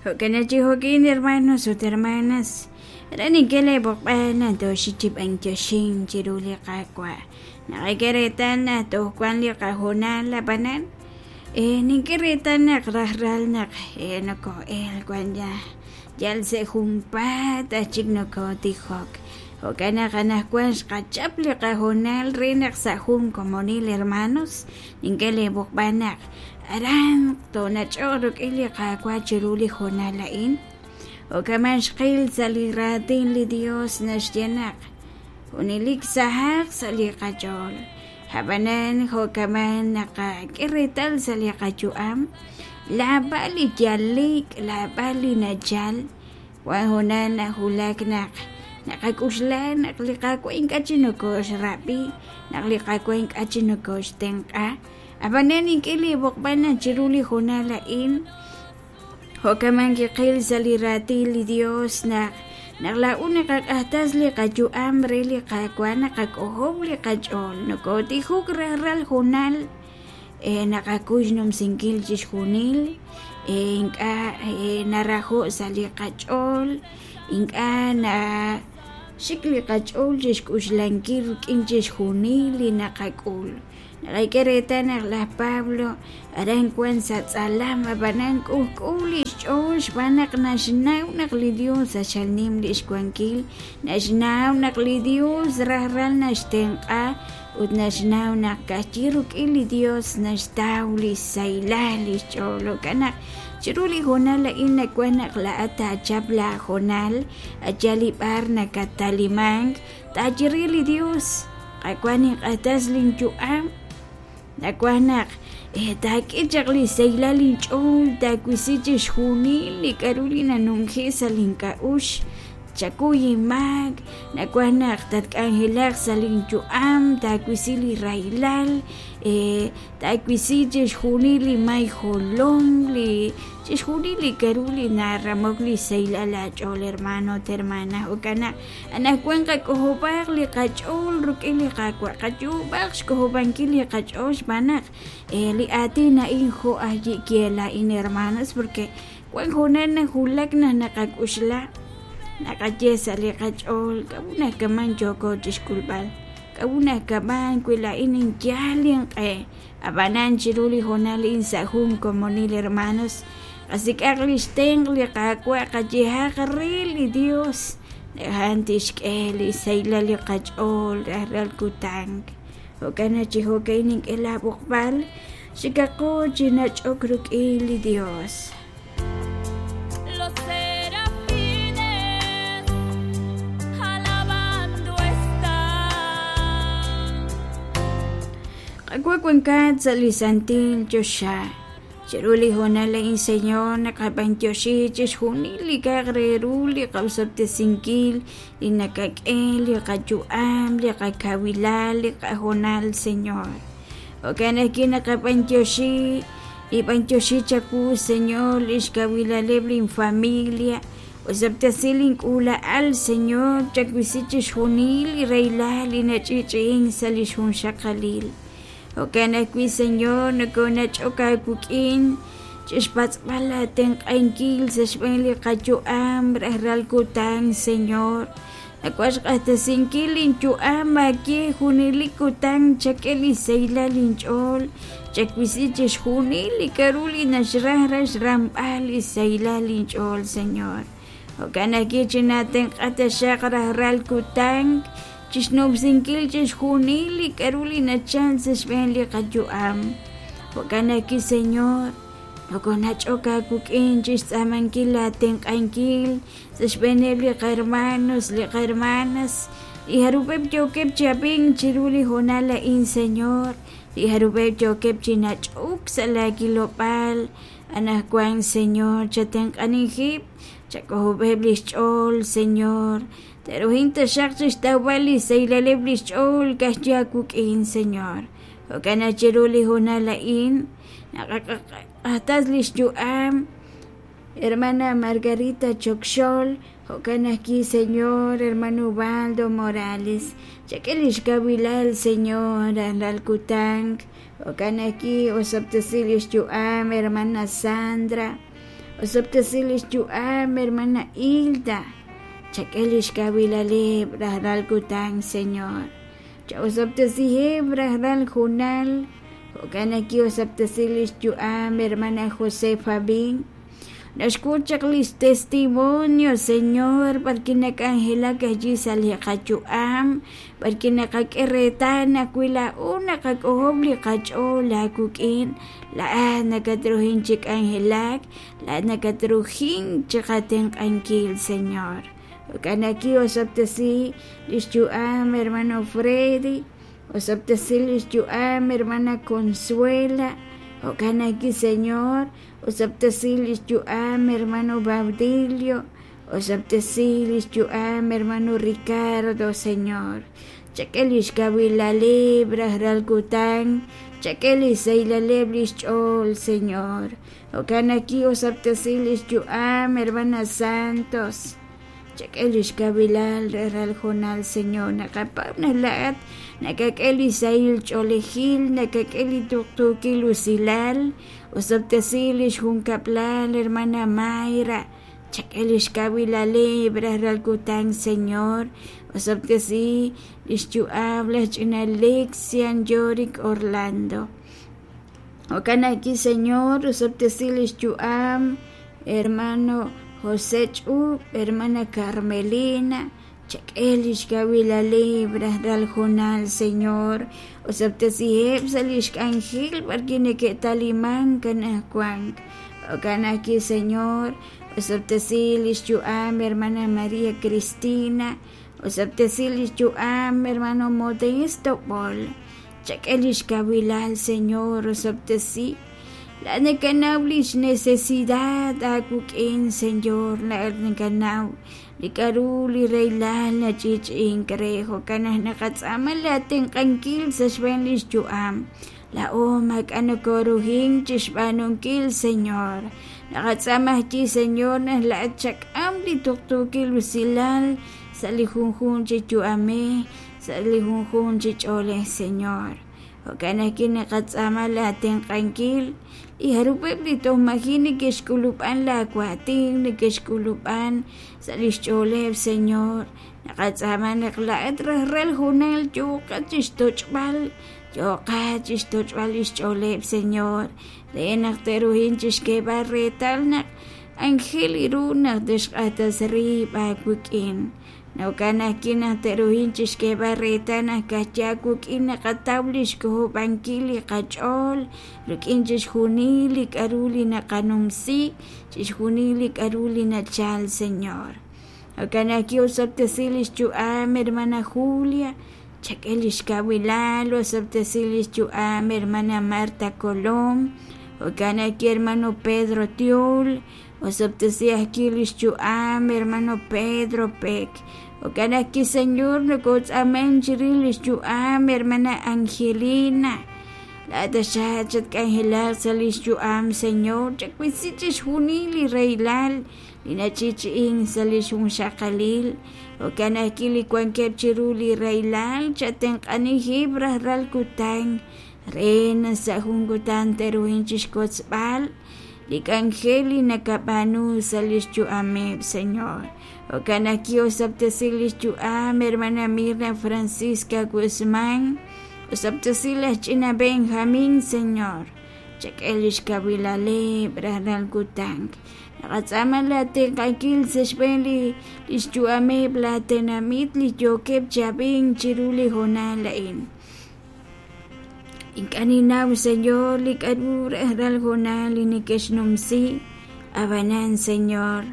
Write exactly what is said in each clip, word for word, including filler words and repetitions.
Jo'kan chi jo'kin hermanos ut hermanas aran nink'e leeb'oqb'al naq tooxik chi b'antioxink chiru li Qaawa' naqak'e reetal naq toj wan li qahoonal ab'anan eh, nink'e reetal naq rajlal naq eh, noko'elk wan ya yal sa' junpaat aj chik nokootijok jo'kan naq anaqwan xqachap li qahoonal re naq sa' jun komonil hermanos nink'e leeb'oqb'al naq aran toonach'oq rik'in li Qaawa' chiru li hoonal a'in jo'kaman xqil sa' li raatin li Dios naxye naq junelik sahaq sa' li qach'ool ab'anan jo'kaman naqak'e reetal sa' li qayu'am laab'al li yalik laab'al li nachal wan hoonal nawulak naq naqak'uxla naq li Qaawa' ink'a' chi nokooxrab'i naq li Qaawa' ink'a' chi nokooxtenq'a ab'anan nink'e leeb'oqb'al naq chiru li hoonal a'in jo'kaman kiqil sa' li raatin li Dios naq naq laa'u naqaq'ajtas li qayu'am re li Qaawa' naqak'ojob' li qach'ool nokootijok rajlal hoonal eh, naqakuy xnumsinkil chixjunil eh, ink'a' eh, narajo' sa' li qach'ool ink'a' na xik li qach'ool chixk'uxlankil rik'in chixjunil li naqak'ul naqak'e reetal naq laj Pablo aran wan sa' tz'alam ab'anan k'ujk'uj li xch'ool xb'aan naq naxnaw naq li Dios axal nim li xwankil naxnaw naq li Dios rajlal naxtenq'a ut naxnaw naq ka'ajwi' rik'in li Dios naxtaw li xsahilal li xch'ool jo'kan naq chiru li hoonal a'in nawan naq laa'at taachap laahoonal ayal li b'ar nakatalimank taachiri li Dios Qaawa' ninq'ajtas linyu'am nawan naq eh, taak'e chaq li sahilal inch'ool taawisi chixjunil li k'a'ru li nanumji sa' link'a'uxl chakuy inmaak nawan naq tatk'anjelaq sa' linyu'am taawisi li rahilal eh, taawisi chixjunil li may jolom li chixjunil li k'a'ru li naramok li sahilal aach'ool hermano ut hermana jo'kan naq anaqwan qak'ojob'aq li qach'ool rik'in li Qaawa' qayu'b'aq xk'ojob'ankil li qach'ool xb'aan naq eh, li aatin a'in jo' aj yi'kee laa'in hermanos porque wan hoonal nawulak naq naqak'uxla naqaye sa' li qach'ool k'a'ru nakaman yooko chixk'ulb'al k'a'ru nakaman wi laa'in ninyal inq'e ab'anan chiru li hoonal a'in sa' jun komonil hermanos qasik'aq li xtenq' li Qaawa' qayehaq re li Dios a'an tixk'e li sahilal li qach'ool rajlal kutan jo'kan naq chi jo'ka'in nink'e laab'oqb'al xikaqo chi nach'ok rik'in li Dios. Los serafines alabando están. Qaawa' wankat sa' li santil choxa chiru li hoonal a'in Señor naqab'antioxi chixjunil li k'a'aq re ru li qawsob'tesinkil li nakak'e li qayu'am li qakawilal li qahoonal Señor jo'kan ajwi' naqab'antioxi li b'antioxi chawu Señor li xkawilaleb' linfamilia osob'tesi link'uula'al Señor chawisi chixjunil li rahilal li nach'i'ch'i'ink sa' li xjunxaqalil jo'kan ajwi' Señor nokoonach'ok aawik'in chixpatz'b'al aatenq'ankil sa' xb'een li qayu'am rajlal kutan Señor nawan xq'ajtasinkil linyu'am aawe junelik kutan chak'e li sahilal inch'ool chawisi chixjunil li k'a'ru li naxraj raj xramb'al li sahilal inch'ool Señor jo'kan ajwi' chinatenq'a taxaq rajlal kutan chixnumsinkil chixjunil li k'a'ru li nachal sa' xb'een li qayu'am jo'kan ajwi' Señor nokoonach'ok aawik'in chixtz'aamankil aatenq'ankil sa' xb'eeneb' li qahermanos li qahermanas li jarub'eb' yookeb' chi ab'ink chiru li hoonal a'in Señor li jarub'eb' yookeb' chi nach'ok sa' laakilob'aal anaqwan Señor chatenq'anijib' chak'ojob'eb' li xch'ool Señor te'ruhin taxaq chixtawb'al li sahilaleb' li xch'ool ka'ajwi' aawik'in Señor jo'kan naq chiru li hoonal a'in naqaq'ajtas li xyu'am hermana Margarita Chokxol jo'kan ajwi' Señor hermano Ubaldo Morales chak'e li xkawilal Señor rajlal kutan jo'kan ajwi' osob'tesi li xyu'am hermana Sandra Osob'tesi lix yu'am hermana Hilda. Chak'e lix kawilaleb' rajlal kutan, Señor. Cha'osob'tesiheb' rajlal junal. Jo'kan ajwi' osob'tesi lix yu'am hermana Josefa Bin. Naxk'ut chaq lix testimonio, Señor, b'arki nak'anjelak allí sa' li qayu'am, b'arki naqak'e reetal naq wi laa'o naqak'ojob' li qach'ool aawik'in, laa'at nakatruhin chi k'anjelak, laa'at nakatruhin chi qatenq'ankil, Señor. Jo'kan ajwi' osob'tesi lix yu'am hermano Freddy, osob'tesi lix yu'am hermana Consuela, jo'kan ajwi', Señor, osob'tesi lix yu'am hermano Baudilio, osob'tesi lix yu'am hermano Ricardo, Señor. Chak'e lix kawilaleb' rajlal kutan, chak'e lix saylaleb' lix ch'ool, Señor. Jo'kan ajwi' osob'tesi lix yu'am hermana Santos. Chak'e lix kawilal rajlal junal, Señor. Naqapab' naq laa'at nakak'e li sahil ch'oolejil, nakak'e li tuqtuukil usilal, osob'tesi lix junkab'lal hermana Mayra. Chak'e lix kawilaleb' rajlal kutan, Señor. Osob'tesi lix yu'am laj ch'ina Lexian Yorick Orlando. Jo'kan ajwi', Señor, osob'tesi lix yu'am hermano José Ch'ub, hermana Carmelina. Chak'e lix kawilaleb' rajlal junal, Señor. Osob'tesiheb' sa' lix k'anjel b'arki neke'taliman kanajwan. Jo'kan ajwi', Señor, osob'tesi lix yu'am hermana María Cristina, osob'tesi lix yu'am hermano Modesto Bol. Chak'e lix kawilal, Señor, osob'tesi. La nakanaw lix necesidad aawik'in, Señor, la nakanaw li k'a'ru li reylal nach'ich'ink re. Jo'kan naq naqatz'aama la tenq'ankil sa' xb'een lix yu'am. Laa'o maak'a' nokoruhin chixb'aanunkil, Señor. Naqatz'aama ajwi', Señor, naq laa'at chak'am li tuqtuukil usilal sa' li junjun chi yu'amej, sa' li junjun chi ch'oolej, Señor. Jo'kan ajwi' naqatz'aama la tenq'ankil li jarub'eb' li toj maji' neke'xk'ulub'an la waatin, neke'xk'ulub'an sa' lix ch'ooleb', Señor. Naqatz'aama naq laa'at rajlal junal yooqat chixtoch'b'al, yooqat chixtoch'b'al lix ch'ooleb', Señor. Re naq te'ruhin chixk'eeb'al reetal naq anjel ru naq tixq'atas riib' aawik'in. Jo'kan ajwi' naq te'ruhin chixk'eeb'al reetal naq kajya aawik'in naqataw lix k'ojob'ankil li qach'ool rik'in chixjunil li k'a'ru li naqanumsi, chixjunil li k'a'ru li nachal, Señor. Jo'kan ajwi' osob'tesi lix yu'am hermana Julia, chak'e lix kawilal, osob'tesi lix yu'am hermana Marta Colom, jo'kan ajwi' hermano Pedro Tiol, osob'tesi ajwi' lix yu'am hermano Pedro Peck. Jo'kan ajwi', Señor, nokotz'aman chirix lix yu'am hermana Angelina. Laa'at taxaq chatk'anjelaq sa' lix yu'am, Señor. Chakwisi chixjunil li reylal li nach'ich'in sa' lix junxaqalil. Jo'kan ajwi' li wankeb' chiru li reylal chatenq'anijib' rajlal kutan re naq sa' jun kutan te'ruhin chixkotzb'al li k'anjel li nakab'aanu sa' lix yu'ameb', Señor. Jo'kan ajwi' osob'tesi lix yu'am hermana Mirna Francisca Guzmán, osob'tesi laj ch'ina Benjamín, Señor. Chak'e lix kawilaleb' rajlal kutan. Naqatz'aama la tenq'ankil sa' xb'een li lix yu'ameb' la tenamit li yookeb' chi ab'ink chiru li hoonal a'in. Ink'a' ninnaw, Señor, li k'a'ru rajlal hoonal li neke'xnumsi. Ab'anan, Señor,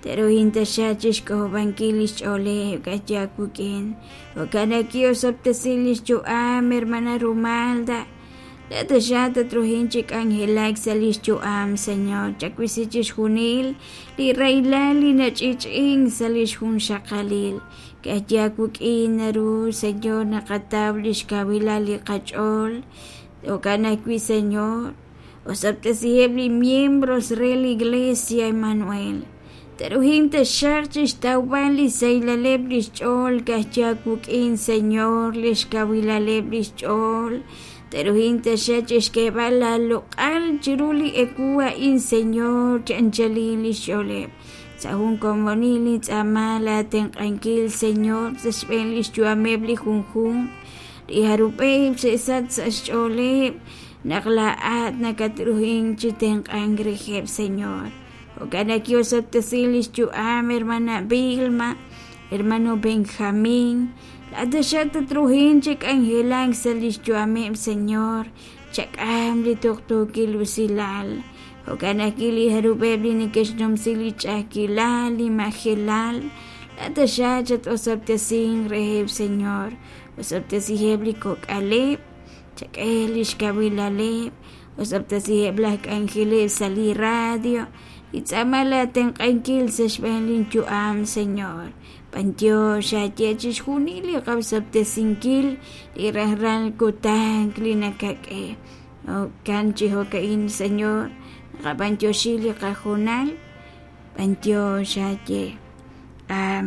te'ruhin taxaq chixk'ojob'ankil lix ch'ooleb' k'axya aawik'in. Jo'kan ajwi' osob'tesi lix yu'am hermana Rumalda. La taxaq tatruhin chi k'anjelak sa' lix yu'am, Señor. Chakwisi chixjunil li reylal li nach'ich'in sa' lix junxaqalil. K'axya aawik'in naru, Señor, naqataw lix kawilal li qach'ool. Jo'kan ajwi', Señor, osob'tesiheb' li miembros re la Iglesia Emmanuel. Te'ruhin taxaq chixtawb'al li saylaleb' lix ch'ool k'axya aawik'in, Señor, lix kawilaleb' lix ch'ool. Teruhin taxa chixk'eeb'al laaloq'al chiru li ewu a'in, Señor, chi anchalil lix ch'ooleb'. Sa' jun komonil nintz'aama laatenq'ankil, Señor, sa' xb'een lix yu'ameb' li junjunq li jarub'eb' xe'sach sa' xch'ooleb' naq laa'at nakatruhink chi tenq'ank reheb', Señor. Jo'kan naq ki'osob'tesi lix yu'am hermana Vilma, hermano Benjamín, laa'at taxaq tatruhin chi k'anjelak sa' lix yu'ameb', Señor, chak'am li tuqtuukil usilal. Jo'kan ajwi' li jarub'eb' li neke'xnumsi li ch'a'ajkilal, li majelal, laa'at taxaq chat-osob'tesinq reheb', Señor. Osob'tesiheb' li kok'aleb', chak'e lix kawilaleb', osob'tesiheb' laj k'anjeleb' sa' li radio, nintz'aama laatenq'ankil sa' xb'een linyu'am, Señor. B'antiox aaye chixjunil li qaosob'tesinkil li rajlal kutan li nakak'e. Jo'kan chi jo'ka'in, Señor, naqab'antioxi li qahoonal, b'antiox aaye. Amén.